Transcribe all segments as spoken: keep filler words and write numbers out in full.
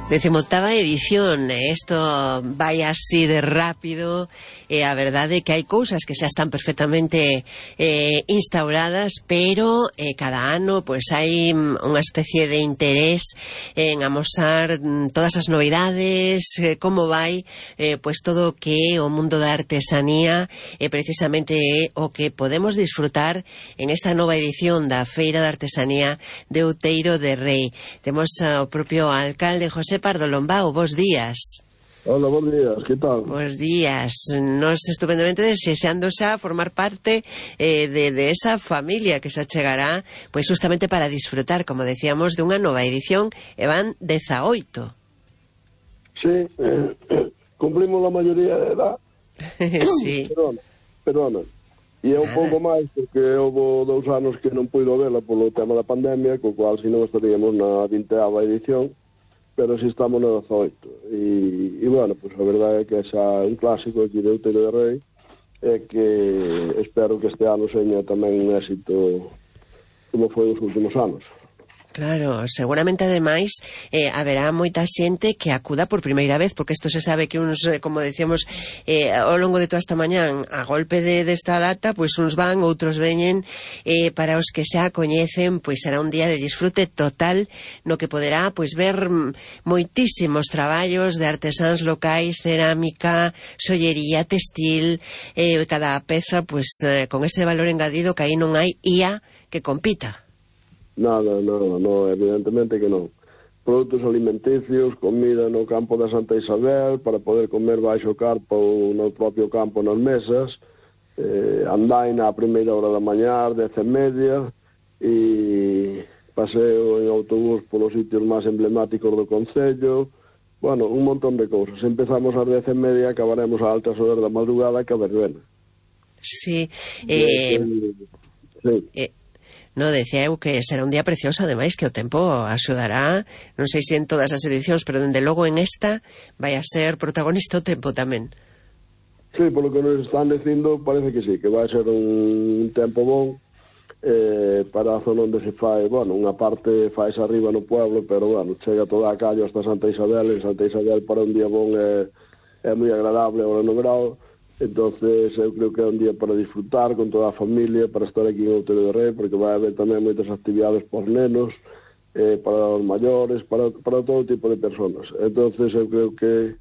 Decimoctava edición, isto vai así de rápido, e a verdade é que hai cousas que xa están perfectamente eh, instauradas, pero eh, cada ano pois hai unha especie de interés en amosar todas as novidades, eh, como vai eh, pois todo o que é o mundo da artesanía, e eh, precisamente é o que podemos disfrutar en esta nova edición da Feira da Artesanía de Outeiro de Rei. Temos ao propio alcalde José Pardo Lombao. Bos días. Hola, bons días, que tal? Bos días. Nos estupendamente desexando xa formar parte eh, de, de esa familia que xa chegará, pois justamente para disfrutar, como decíamos, dunha nova edición, e van dezaoito. Sí, eh, cumplimos a maioría de edad. Sí. Perdona, perdona. E é un pouco máis, porque houve dous anos que non puido vela polo tema da pandemia, co cual, se non estaríamos na vinteava edición, pero si estamos na dezaoito. E, e bueno, pues a verdade é que é xa un clásico aquí de Outeiro de Rei, é que espero que este ano seña tamén un éxito como foi os últimos anos. Claro, seguramente ademais eh, haberá moita xente que acuda por primeira vez, porque isto se sabe que uns, eh, como decíamos eh, ao longo de toda esta mañán, a golpe de desta data, pois uns van, outros veñen, eh, para os que xa coñecen, pois será un día de disfrute total, no que poderá pois ver moitísimos traballos de artesáns locais, cerámica, sollería, textil, eh, cada peza pois eh, con ese valor engadido que aí non hai I A que compita. Nada, no, no, evidentemente que non. Produtos alimenticios, comida no campo da Santa Isabel, para poder comer baixo carpa ou no propio campo nas mesas, eh, andaina a primeira hora da mañá, dez e media, e paseo en autobús polos sitios máis emblemáticos do concello, bueno, un montón de cousas. Empezamos ás dez e media e acabaremos a altas horas da madrugada que a verbena. Sí, eh... sí. eh... No, decía eu que será un día precioso, ademais que o tempo axudará, non sei se en todas as edicións, pero dende logo en esta vai a ser protagonista o tempo tamén. Sí, polo que nos están dicindo, parece que sí, que vai ser un tempo bon eh, para a zona onde se fai, bueno, unha parte faise arriba no pueblo, pero, bueno, chega toda a calle hasta Santa Isabel, en Santa Isabel para un día bon é, é moi agradable ahora no verão. Entonces eu creo que é un día para disfrutar con toda a familia, para estar aquí en Outeiro de Rei, porque vai haber tamén moitas actividades por nenos, eh, para os maiores, para, para todo tipo de personas. Entonces eu creo que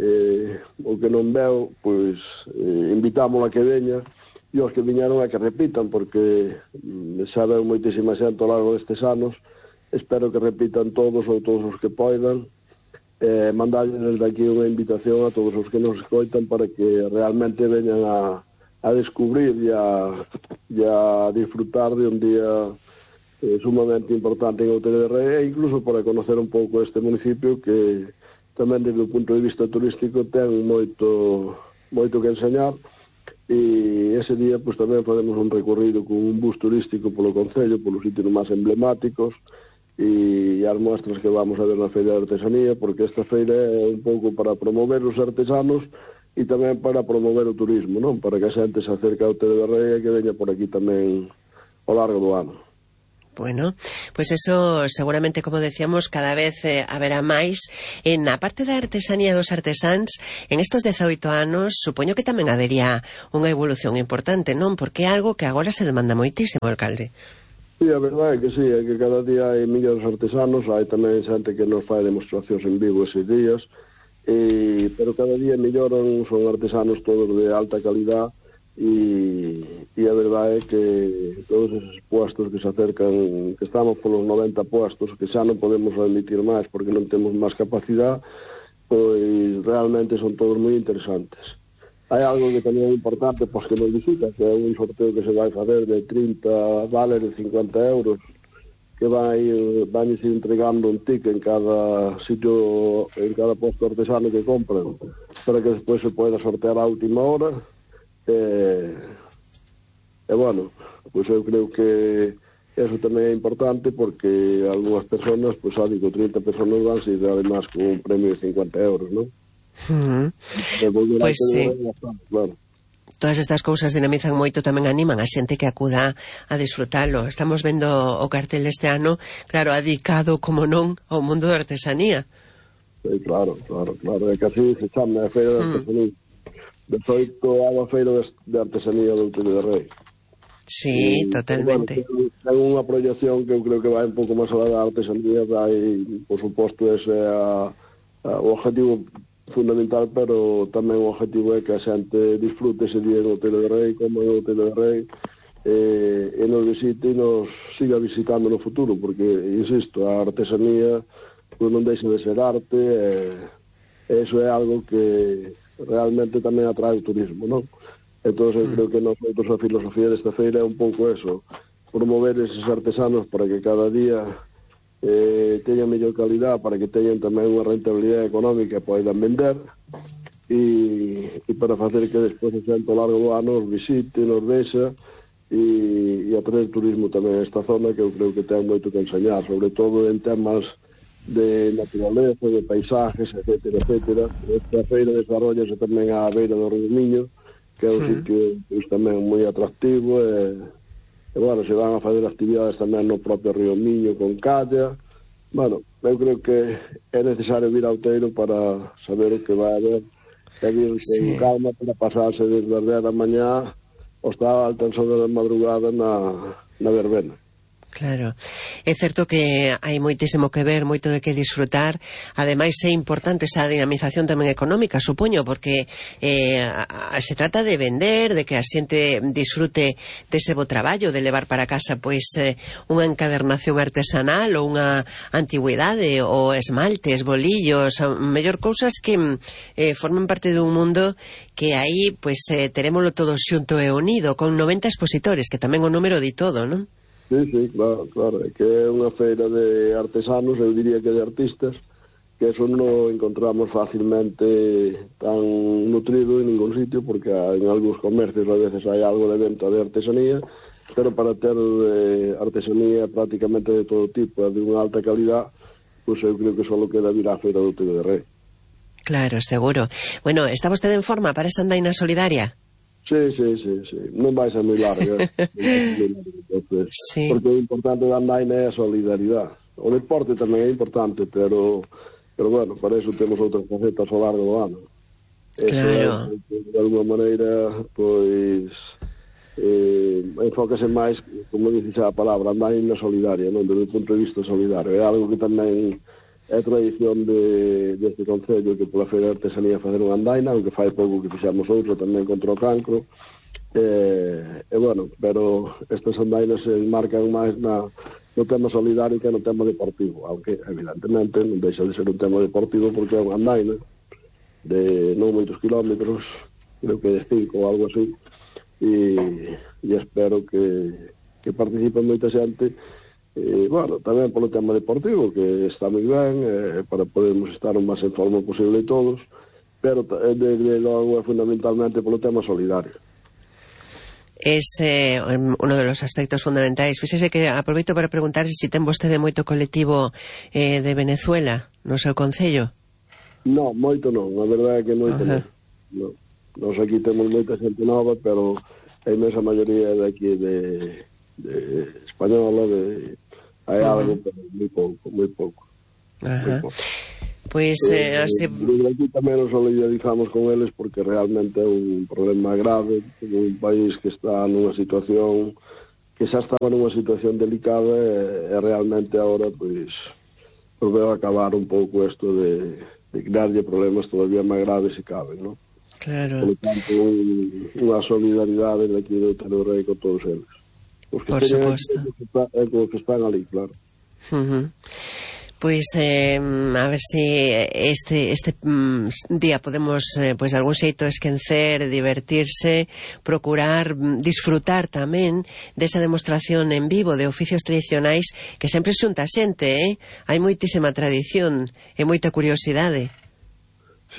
eh, o que non veo, pois eh, invitamos a que veña, e os que viñeron a que repitan, porque mm, xa veo moitísima xente ao largo destes anos, espero que repitan todos ou todos os que poidan. Eh, mandarles desde aquí unha invitación a todos os que nos escoitan para que realmente veñan a, a descubrir e a, e a disfrutar de un día eh, sumamente importante en Outeiro de Rei, e incluso para conocer un pouco este municipio que tamén desde o punto de vista turístico ten moito moito que enseñar, e ese día pues, tamén facemos un recorrido con un bus turístico polo concello, polos sitios máis emblemáticos, e as mostras que vamos a ver na Feira de Artesanía, porque esta feira é un pouco para promover os artesanos e tamén para promover o turismo, non? Para que a xente se acerque ao Outeiro de Rei e que veña por aquí tamén ao largo do ano. Bueno, pois pues eso seguramente, como decíamos, cada vez eh, haberá máis. En a parte da artesanía dos artesáns, en estos dezaoito anos, supoño que tamén habería unha evolución importante, non? Porque é algo que agora se demanda moitísimo, alcalde. Sí, a verdade é que sí, é que cada día hai millóns artesanos, hai tamén xente que nos fai demostracións en vivo eses días, e, pero cada día melloran, son artesanos todos de alta calidad, e, e a verdade é que todos esos puestos que se acercan, que estamos polos noventa puestos, que xa non podemos admitir máis porque non temos máis capacidade, pois realmente son todos moi interesantes. Hai algo que tamén é importante, pois que nos visita, que é un sorteo que se vai fazer de trinta vales de cincuenta euros, que vai, vai ir entregando un ticket en cada sitio, en cada posto artesano que compren, para que despois se poida sortear a última hora. E, e bueno, pois eu creo que eso tamén é importante, porque algunhas personas, pois xa digo, trinta personas van se además con un premio de cincuenta euros, non? Uh-huh. Pois sí, claro. Todas estas cousas dinamizan moito, tamén animan a xente que acuda a disfrutalo. Estamos vendo o cartel deste ano, claro, adicado, como non, ao mundo da artesanía. Sí, claro, claro, claro. É que así se chama a Feira de Artesanía. dezoito a Feira de Artesanía do Outeiro de Rei. Sí, e, totalmente. Bueno, ten unha proyección que eu creo que vai un pouco máis alá da artesanía, vai, por suposto, ese é a, a, o objetivo fundamental, pero tamén o objetivo é que a xente disfrute ese día no Outeiro de Rei, como no Outeiro de Rei, eh, e nos visite e nos siga visitando no futuro, porque, insisto, a artesanía pues, non deixa de ser arte, e eso é algo que realmente tamén atrae o turismo, non? Entón, eu creo que nosotros a filosofía desta feira é un pouco eso, promover eses artesanos para que cada día eh, teñan mellor calidad, para que teñan tamén unha rentabilidade económica e poidan vender, e, e para facer que despois o xente ao largo do ano os visite, nos vexa, e, e atraer turismo tamén a esta zona, que eu creo que ten moito que enseñar, sobre todo en temas de naturaleza, de paisajes, etcétera, etcétera. Esta feira desarrollase tamén á beira do Río Miño, que é un sitio pues, tamén moi atractivo, e, e, bueno, se van a fazer actividades tamén no propio Río Miño con calla. Bueno, eu creo que é necesario vir ao Outeiro para saber o que vai haber, e vir sí. con calma para pasarse desde as dez da mañá hasta altas horas da madrugada na, na verbena. Claro, é certo que hai moitísimo que ver, moito de que disfrutar. Ademais é importante esa dinamización tamén económica, supoño, porque eh, a, a, se trata de vender, de que a xente disfrute dese bo traballo, de levar para casa pois eh, unha encadernación artesanal ou unha antigüidade, ou esmaltes, bolillos, mellor cousas que eh, forman parte dun mundo que aí pois eh, terémolo todo xunto e unido, con noventa expositores, que tamén o número di todo, non? Sí, sí, claro, claro, é que é unha feira de artesanos, eu diría que de artistas, que eso non encontramos facilmente tan nutrido en ningún sitio, porque en algúns comercios a veces hai algo de venta de artesanía, pero para ter eh, artesanía prácticamente de todo tipo, de unha alta calidad, pois pues eu creo que só queda vir á feira do Outeiro de Rei. Claro, seguro. Bueno, ¿está vostede en forma para esa andaina solidaria? Sí, sí, sí, sí. Non vai ser moi larga. Entonces, sí. Porque o importante da andaina é a solidaridade. O deporte tamén é importante, pero, pero bueno, para eso temos outras facetas ao largo do ano. Claro. Eso é, de alguma maneira, pois, eh, enfócase máis, como dices a palabra, andaina solidaria, non? Desde o punto de vista solidario. É algo que tamén é tradición de, deste concello, que pola Feira de Artesanía facer unha andaina, aunque fai pouco que fixamos outro tamén contra o cancro, e, e bueno, pero estas andainas se enmarcan máis na, no tema solidario que no tema deportivo, aunque evidentemente non deixa de ser un tema deportivo, porque é unha andaina de non moitos kilómetros, creo que de cinco ou algo así, e, e espero que, que participen moita xente. E, bueno, tamén polo tema deportivo, que está moi ben, eh, para podermos estar o máis en forma posible todos, pero desde logo é fundamentalmente polo tema solidario. Es eh, uno de los aspectos fundamentais. Fíxese que aproveito para preguntar se si ten vostede moito colectivo eh, de Venezuela no seu concello. Non, moito non, a verdade é que moito non. non. Nos aquí temos moita xente nova, pero a inmensa maioría é daqui de, de española, de hai algo, uh-huh. pero moi pouco, moi pouco. Ajá. Moi pouco. Pois, eh, eh, así... Desde aquí tamén nos solidarizamos con eles, porque realmente é un problema grave, un país que está nunha situación, que xa estaba nunha situación delicada, e, e realmente agora, pois, pues veo acabar un pouco isto de, de crearlle problemas todavía máis graves se caben, non? Claro. Por lo tanto, un, unha solidaridade daqui do Outeiro de Rei con todos eles. Por suposto. É como que están ali, claro. Uh-huh. Pois eh, a ver si este este mm, día podemos eh, pois de algún xeito esquencer, divertirse, procurar mm, disfrutar tamén desa demostración en vivo de oficios tradicionais que sempre xunta xente, eh? Hai moitísima tradición e moita curiosidade.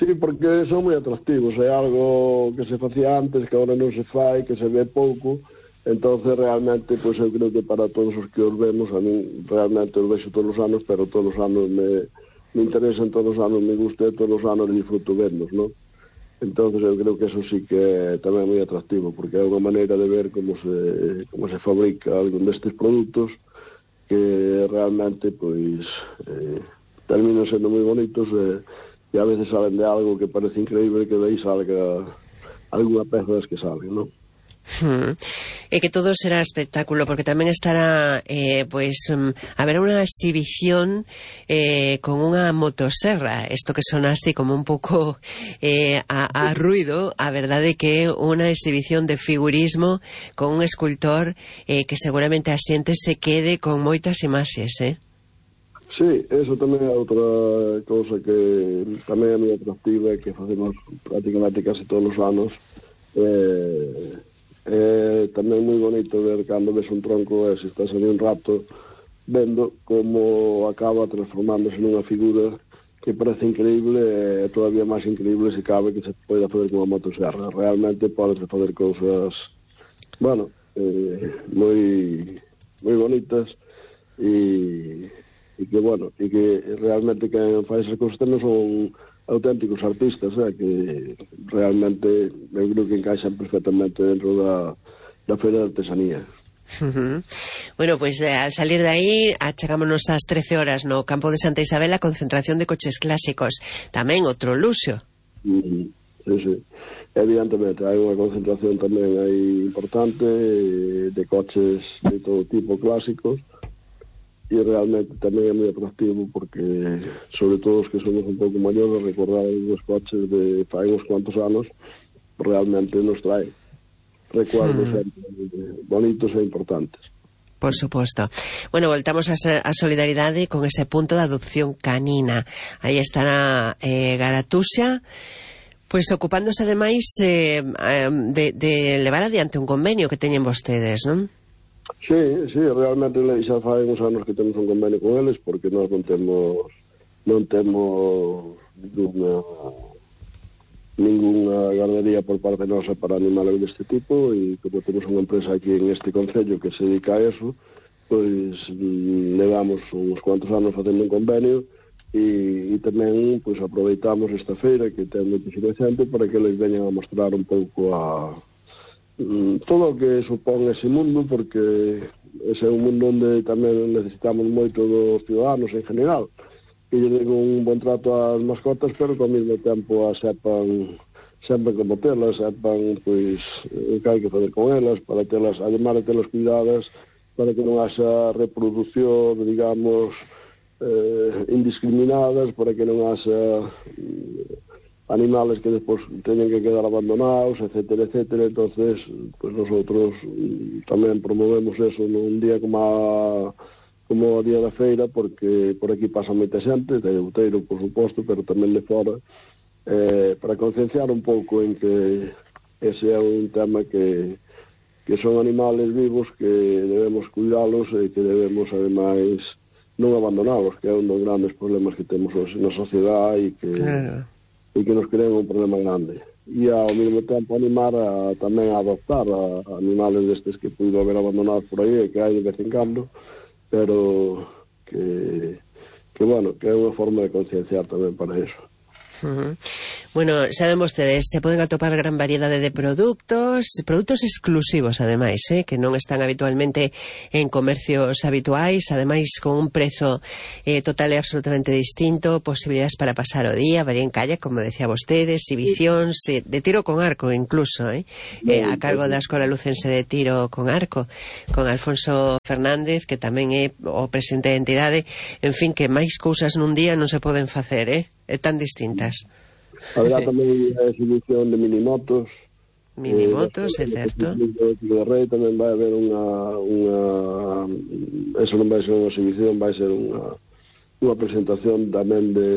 Sí, porque son moi atractivos, é algo que se facía antes, que agora non se fai, que se ve pouco. Entonces realmente, pois eu creo que para todos os que os vemos, a mí realmente os vexo todos os anos, pero todos os anos me, me interesan, todos os anos me gusta, todos os anos disfruto vernos, non? Entonces eu creo que eso sí que é tamén moi atractivo, porque é unha maneira de ver como se, como se fabrica algún destes produtos que realmente, pois, eh, terminan sendo moi bonitos e, e a veces salen de algo que parece increíble que de aí salga alguna peza das que salen, non? Hmm. E que todo será espectáculo, porque tamén estará eh, pues um, haberá unha exhibición eh, con unha motoserra, isto que sona así como un pouco eh, a, a ruido. A verdade que é unha exhibición de figurismo con un escultor eh, que seguramente a xente se quede con moitas imaxes, eh? Sí, eso tamén é outra cousa que tamén é moi atractiva e que facemos prácticamente casi todos os anos. Eh, é tamén moi bonito ver cando ves un tronco e se estás ali un rato vendo como acaba transformándose nunha figura que parece increíble e todavía máis increíble se cabe que se poida fazer con unha motosserra. Realmente podes fazer cousas, bueno, eh, moi moi bonitas e e que, bueno, e que realmente quen faz esas cousas tamén son auténticos artistas, eh, que realmente eu creo que encaixan perfectamente dentro da, da feira de artesanía. Uh-huh. Bueno, pues eh, al salir de aí achegámonos ás trece horas no campo de Santa Isabel a concentración de coches clásicos, tamén outro luxo. Uh-huh. Sí, sí. Evidentemente, hai unha concentración tamén aí importante de coches de todo tipo clásicos, e realmente tamén é moi atractivo porque, sobre todo os que somos un pouco maiores, recordar os coches de fai uns cuantos anos realmente nos trae recuerdos mm. bonitos e importantes. Por suposto. Bueno, voltamos a, a solidaridade con ese punto de adopción canina. Aí estará eh, Garatuxa, pois ocupándose ademais eh, de, de levar adiante un convenio que teñen vostedes, non? Sí, sí, realmente xa fai uns anos que temos un convenio con eles porque nós non temos non temos ninguna ninguna gardería por parte nosa para animales deste tipo e como temos unha empresa aquí en este concello que se dedica a eso, pois levamos uns cuantos anos facendo un convenio e, e tamén pois aproveitamos esta feira que ten moitísima xente para que eles veñan a mostrar un pouco a todo o que supón ese mundo, porque ese é un mundo onde tamén necesitamos moito dos ciudadanos en general, que lle den un bon trato ás mascotas, pero que ao mesmo tempo a sepan sempre como telas, sepan pois o que hai que fazer con elas para telas, además de telas cuidadas, para que non haxa reproducción, digamos, eh, indiscriminadas, para que non haxa animales que despois teñen que quedar abandonados, etcétera, etcétera. Entonces, pues nosotros tamén promovemos eso nun día como a, como a día da feira, porque por aquí pasa moita xente, de Outeiro, por suposto, pero tamén de fora, eh, para concienciar un pouco en que ese é un tema que, que son animales vivos que debemos cuidalos e que debemos, ademais, non abandonalos, que é un dos grandes problemas que temos hoxe na sociedade e que... Claro. E que nos crean un problema grande. E ao mesmo tempo animar a, tamén a adoptar a, a animales destes que puido haber abandonados por aí e que hai de vez en cando, pero que, que bueno, que é unha forma de concienciar tamén para eso. Uh-huh. Bueno, saben vostedes, se poden atopar gran variedade de produtos, produtos exclusivos ademais, eh, que non están habitualmente en comercios habituais, ademais con un prezo eh, total e absolutamente distinto, posibilidades para pasar o día, varía en calle, como decía vostedes, exhibicións, eh, de tiro con arco incluso, eh, eh, a cargo da Escola Lucense de Tiro con Arco, con Alfonso Fernández, que tamén é o presidente da entidade. En fin, que máis cousas nun día non se poden facer, eh? É tan distintas. Habrá tamén a exhibición de minimotos. Minimotos, eh, é certo. De Rei tamén vai haber unha, unha... Eso non vai ser unha exhibición, vai ser unha, unha presentación tamén de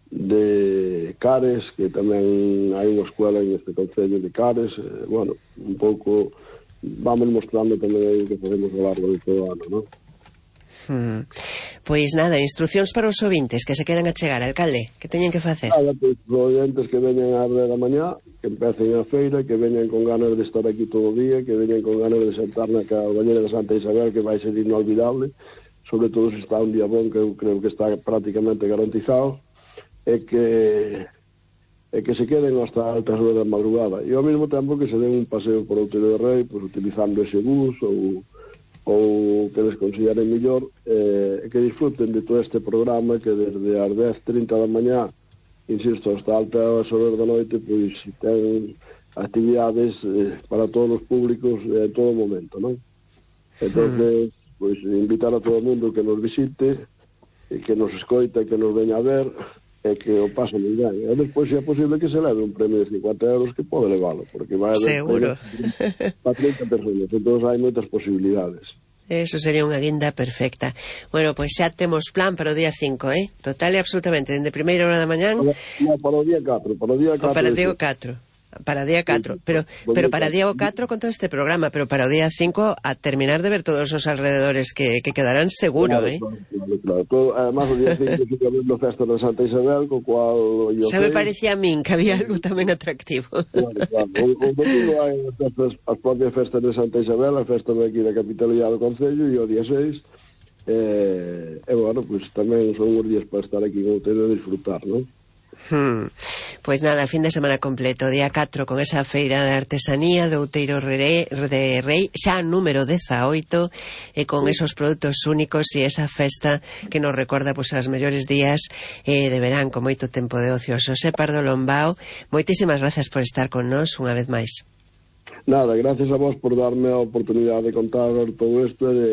de Cares, que tamén hai unha escuela en este concello de Cares. Eh, bueno, un pouco vamos mostrando tamén aí que podemos ao largo de todo o ano, non? Hmm. Pois nada, instruccións para os ouvintes que se queran achegar, alcalde, que teñen que facer? Nada, pois os ouvintes que veñen ás dez da mañá, que empecen a feira, que veñen con ganas de estar aquí todo o día, que veñen con ganas de sentar na Cabañera de Santa Isabel, que vai ser inolvidable, sobre todo se está un día bon, que eu creo que está prácticamente garantizado, e que e que se queden hasta altas horas da madrugada, e ao mesmo tempo que se den un paseo por Outeiro de Rei, pues, utilizando ese bus ou ou que les consideren mellor, eh, que disfruten de todo este programa que desde as dez e trinta da mañá, insisto, hasta altas horas da noite, pois ten actividades eh, para todos os públicos en todo momento, non? Entonces, pois invitar a todo o mundo que nos visite, e que nos escoita, que nos veña a ver, e que o pasen moi ben. E despois, se é posible, que se leve un premio de cincuenta euros, que pode levalo, porque vai haber seguro para trinta personas, entón hai moitas posibilidades. Eso sería unha guinda perfecta. Bueno, pois xa temos plan para o día cinco, eh? Total e absolutamente, dende primeira hora da mañán. No, para o día catro, para o día catro. O para o día catro. Para o día catro, pero pero para o día catro con todo este programa, pero para o día cinco a terminar de ver todos os alrededores que, que quedarán seguro, claro, eh? Claro, claro, claro. Todo, además o día cinco fica vendo festa de Santa Isabel, co cual... Xa me parecía a min que había algo tamén atractivo. Claro, claro. O, o domingo hai as, festas, as propias festas de Santa Isabel, a festa de aquí da capitalidade do Concello, e o día seis, eh, e, bueno, pues tamén son uns días para estar aquí en Outeiro e disfrutar, non? Hmm. Pois nada, fin de semana completo, día catro con esa feira de artesanía do Outeiro de Rei, xa número dezaoito, e con esos produtos únicos e esa festa que nos recorda pois as mellores días eh, de verán con moito tempo de ocio. Xosé Pardo Lombao, moitísimas gracias por estar con nós unha vez máis. Nada, gracias a vos por darme a oportunidade de contar todo isto e de,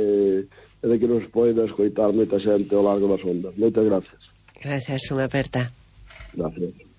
de que nos poida escoitar moita xente ao largo das ondas. Moitas gracias. Gracias, unha aperta. Gracias.